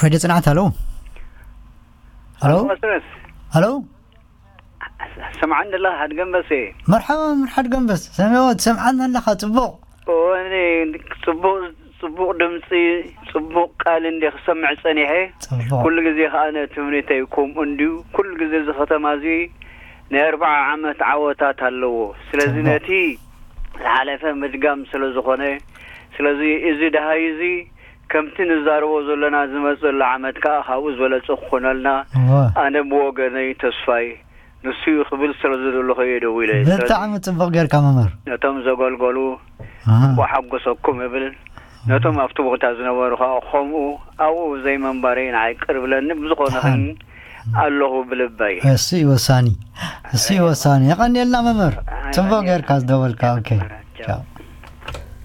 ሬድዮ ጽንዓት፣ ሃሎ። ሃሎ። መስረስ ሃሎ። ሰምዓኒ ኣለኻ ሓድገንበሴ? መርሓባ፣ መርሓድ ገንበስ። ሰሚዎ፣ ትሰምዓና ኣለኻ? ጽቡቕ። እወ፣ ጽቡቕ፣ ጽቡቕ ድምፂ፣ ጽቡቕ ቃል እንዲ ክሰምዕ ጸኒሐ። ጽቡቕ። ኩሉ ግዜ ከኣ ትምኒተይ ከምኡ እንድዩ። ኩሉ ግዜ እዚ ከተማ እዚ ናይ ኣርብዓ ዓመት ዓወታት ኣለዎ። ስለዚ ጽቡቕ። ነቲ ዝሓለፈ ምድጋም ስለ ዝኾነ፣ ስለዚ እዚ ደሃይ እዚ ከምቲ ንዛረቦ ዘለና ዝመጽእ ዘሎ ዓመት ከኣ ካብኡ ዝበለጸ ክኾነልና እወ። ኣነ ብወገነይ ተስፋይ ንሱ እዩ ክብል ስለ ዝደለኹ እየ ደዊለ። ስለዚ ብጣዕሚ ጽቡቕ ጌርካ መምህር። ነቶም ዘገልገሉ ኣሃ። ወሓጎሰኩም እብል። ነቶም ኣብቲ ቦታ ዝነበሩ ከዓ ከምኡ ኣብኡ ዘይመንባረይ ንዓይ ቅር ብለኒ። ብዝኾነ ደሓን። ግን ኣለኹ ብልበይ። እሱ እዩ ወሳኒ፣ እሱ እዩ ወሳኒ። የቐንየልና መምህር፣ ጽቡቕ ጌርካ ዝደወልካ። ኦኬ፣ ቻው።